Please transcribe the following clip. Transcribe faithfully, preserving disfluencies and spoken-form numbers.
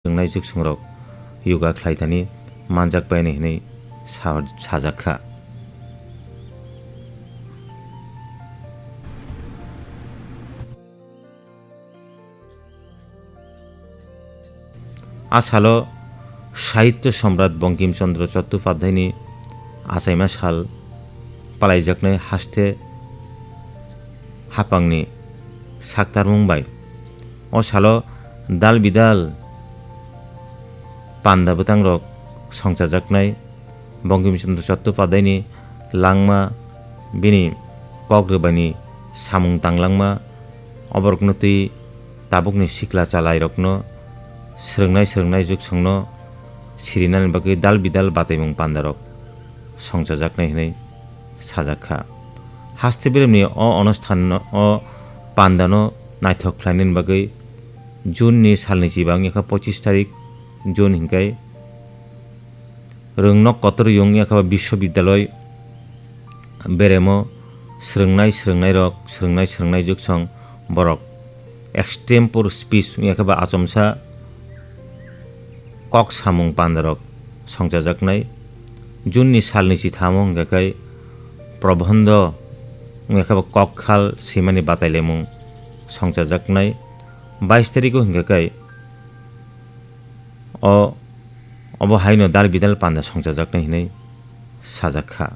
wngnai jwksangrok yoga khlai thani manjak pai hinwi sa-, sajak kha. A salo Sahitya Samrat Bankim Chandra Chattopadhyayni achaima sal palaijaknai haste haphangni saktarmung bai. O salo dal bidal panda bwtangrok songchajaknai Bankim Chandra Chattopadhyayni langma, bini kok rwbaini samung tanglangma, oborokno twi tabukni sikla chalairokno swrwngnai swrwngnai jwksongno sirinani bagwi dal bidal bataimung pandarok songchajaknai hwnwi sajak kha. Haste beremni o onusthan o pandano naithok khlainani bagwi June ni salni chiba wngya kha pochis tarik June hinkai Rwngnok kotor wngya khe ba Biswabidyaloi beremo swrwngnai swrwngnairok, swrwngnai swrwngnai jwksong borok extempore speech wngya khe ba achomsa kok samung pandarok songchajaknai. June ni salni chithamo hwnkhe kai probhondo wngya khe ba kok khal swimani batailaimung songchajaknai. Bais tariko hwnkhe kai o, obo haino dal bidal panda songchajaknai hinwi sajak kha.